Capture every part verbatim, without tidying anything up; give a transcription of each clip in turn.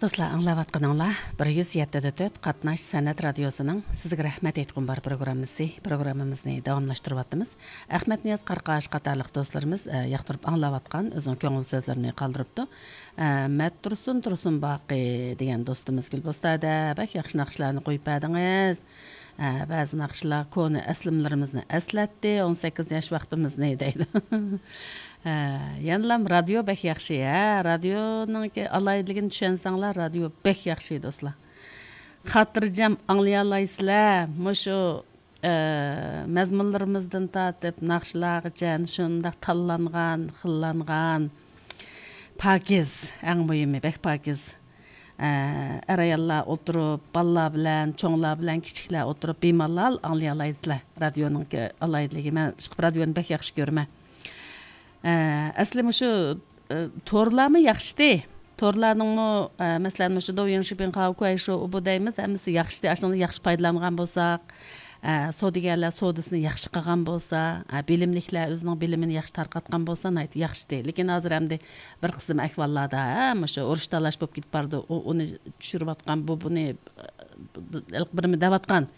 دوستلار، ئاڭلاۋاتقىنىڭلار بىر يۈز يەتتە دە تۆت قاتناش سەنئەت رادىيوسىنىڭ سىزگە رەھمەت ئېيتقۇم بار پروگراممىسى. پروگراممىمىزنى داۋاملاشتۇرۇۋاتىمىز. ئەخمەت نىياز قاراقاش قاتارلىق دوستلىرىمىز، ئە، ياقتۇرۇپ ئاڭلاۋاتقان، ئۆزىنىڭ كۆڭۈل سۆزلىرىنى قالدۇرۇپتۇ. ئە، مەتتۇرسۇن تۇرسۇنباقى دېگەن دوستىمىز گۈلبوستادا بەك ياخشى ناخشىلارنى قويۇپ بەردىڭىز. ئە، بەزى ناخشىلار كونا ئەسلىمىلىرىمىزنى ئەسلەتتى، ئون سەككىز ياش ۋاقتىمىزنى دەيدۇ. ھە، يەنىلا رادىيو بەك ياخشى، ھە، رادىيونىڭكى ئالاھىدىلىكىنى چۈشەنسەڭلار، رادىيو بەك ياخشى، دوستلار. خاتىرجەم ئاڭلىيالايسىلەر، مۇشۇ، ئە، مەزمۇنلىرىمىزدىن تارتىپ ناخشىلارغىچە شۇنداق تاللانغان، خىللانغان، پاكىز، ئەڭ مۇھىمى، بەك پاكىز. ئە، ئەر-ئاياللار ئولتۇرۇپ، بالىلار بىلەن، چوڭلار بىلەن، كىچىكلەر ئولتۇرۇپ، بىمالال ئاڭلىيالايسىلەر. رادىيونىڭكى ئالاھىدىلىكى. مەن ئىشقىلىپ رادىيونى بەك ياخشى كۆرىمەن. ئە، ئەسلى مۇشۇ، ئە، تورلارمۇ ياخشىتى. تورلارنىڭمۇ، ئە، مەسىلەن، مۇشۇ دوۋيىڭ شىپىڭ خاۋ كۇەي شو ئۇبۇ دەيمىز، ھەممىسى ياخشىتى. ئاشۇنىڭدىن ياخشى پايدىلانغان بولساق، ئە، سودىگەرلەر سودىسىنى ياخشى قىلغان بولسا، ئە، بىلىملىكلەر ئۆزىنىڭ بىلىمىنى ياخشى تارقاتقان بولسا، ناھايىتى ياخشىتى. لېكىن ھازىر ئەمدى بىر قىسىم ئەھۋاللاردا، ھە، مۇشۇ ئۇرۇش تالاش بولۇپ كېتىپ بارىدۇ. ئۇ ئۇنى چۈشۈرۈۋاتقان، بۇ بۇنى، ئە، بىرىمە دەۋاتقان.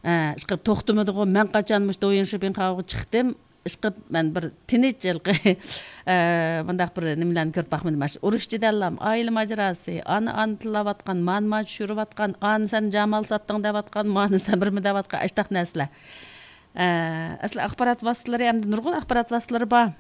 ئە، ئىشقىلىپ توختىمىدىغۇ. مەن قاچان مۇشۇ دوۋيىڭ شىپىڭ خاۋغا چىقتىم، ئىشقىلىپ مەن بىر تىنچ ھېلىقى، ئە، مۇنداق بىر نېمىلەرنى كۆرۈپ باقمىدىم. مانا شۇ ئۇرۇش جېدەللەم، ئائىلە ماجىراسى، ئانا، ئانا تىللاۋاتقان، مانا، مانا چۈشۈرۈۋاتقان، ئانا، سەن جامال ساتتىڭ دەۋاتقان، مانا، سەن بىرمە دەۋاتقان، ئاشتاق نەرسىلەر. ئە، ئەسلى ئاخبارات ۋاسىتىلىرى، ئەمدى نۇرغۇن ئاخبارات ۋاسىتىلىرى بار.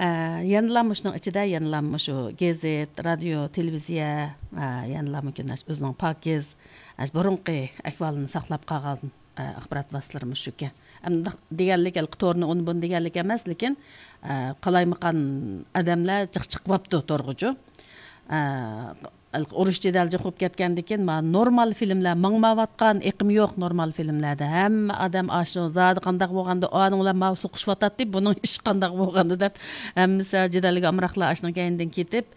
ئە، يەنىلا مۇشۇنىڭ ئىچىدە، يەنىلا مۇشۇ گېزىت، رادىيو، تېلېۋىزىيە، ئە، يەنىلا مۇمكىن ئۆزىنىڭ پاكىز، ئە، بۇرۇنقى ئەھۋالىنى ساقلاپ قالغان، ئە، ئاخبارات ۋاسىتىلىرى مۇشۇكەن. ئەمدى دېگەنلىك، ھېلىقى تورنى ئۇنى بۇنى دېگەنلىك ئەمەس، لېكىن، ئە، قالايمىقان ئادەملەر جىق چىقىۋاپتۇ تورغىچۇ. ئە، ئۇرۇش جېدەل جىق بولۇپ كەتكەندىن كېيىن، مانا نورمال فىلىملەر ماڭمايۋاتقان، ئېقىم يوق نورمال فىلىملەردە. ھەممە ئادەم ئاشۇ زادى قانداق بولغاندا، ئانىڭ بىلەن ماۋۇ سوقۇشۇۋاتاتتى، بۇنىڭ ئىشى قانداق بولغاندا دەپ، ھەممىسى جېدەلگە ئامراقلار ئاشۇنىڭ كەينىدىن كېتىپ،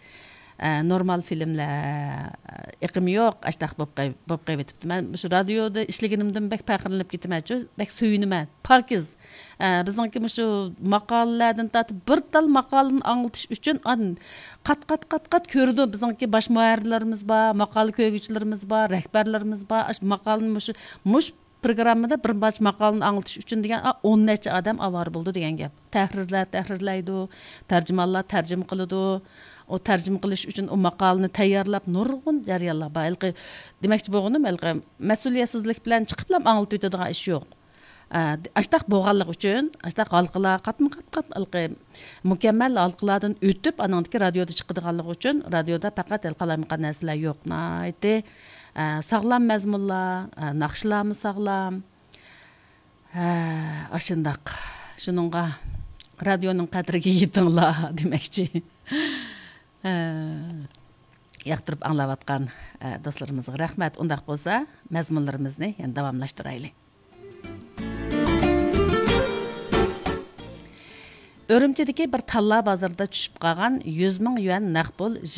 ئە، نورمال فىلىملەر ئېقىم يوق، ئاشتاق بولۇپ قېلىپ، بولۇپ قېلىۋېتىپتۇ. مەن مۇشۇ رادىيودا ئىشلىگىنىمدىن بەك پەخىرلىنىپ كېتىمەنچۇ، بەك سۆيۈنىمەن. پاكىز. ئە، بىزنىڭكى مۇشۇ ماقالىلەردىن تارتىپ بىر تال ماقالىنى ئاڭلىتىش ئۈچۈن ئان-، قات، قات، قات، قات كۆرىدۇ بىزنىڭكى باش مۇھەررىرلىرىمىز بار، ماقالە كۆرگۈچىلىرىمىز بار، رەھبەرلىرىمىز بار. ئاشۇ ماقالىنى مۇشۇ، مۇشۇ پروگراممىدا بىر پارچە ماقالىنى ئاڭلىتىش ئۈچۈن دېگەن، ئا، ئون نەچچە ئادەم ئاۋارە بولىدۇ دېگەن گەپ. تەھرىرلەر تەھرىرلەيدۇ، تەرجىمانلار تەرجىمە قىلىدۇ. ئۇ تەرجىمە قىلىش ئۈچۈن ئۇ ماقالىنى تەييارلاپ نۇرغۇن جەريانلار بار. ھېلىقى دېمەكچى بولغىنىم، ھېلىقى مەسئۇلىيەتسىزلىك بىلەن چىقىپلا ئاڭلىتىۋېتىدىغان ئىش يوق. ئە، ئاشتاق بولغانلىقى ئۈچۈن، ئاشتاق ھالقىلار قاتمۇ قات قات ھېلىقى مۇكەممەل ھالقىلاردىن ئۆتۈپ، ئانىڭدىكى رادىيودا چىقىدىغانلىقى ئۈچۈن، رادىيودا پەقەت ھېلىقى قالايمىقان نەرسىلەر يوق. ناھايىتى، ئە، ساغلام مەزمۇنلار، ئە، ناخشىلارمۇ ساغلام. ھە، ئاشۇنداق. شۇنىڭغا رادىيونىڭ قەدرىگە يېتىڭلار دېمەكچى. ھە، ياقتۇرۇپ ئاڭلاۋاتقان، ئە، دوستلىرىمىزغا رەھمەت. ئۇنداق بولسا، مەزمۇنلىرىمىزنى يەنە داۋاملاشتۇرايلى. ئۈرۈمچىدىكى بىر تاللا بازىرىدا چۈشۈپ قالغان يۈز مىڭ يۈەن نەق پۇل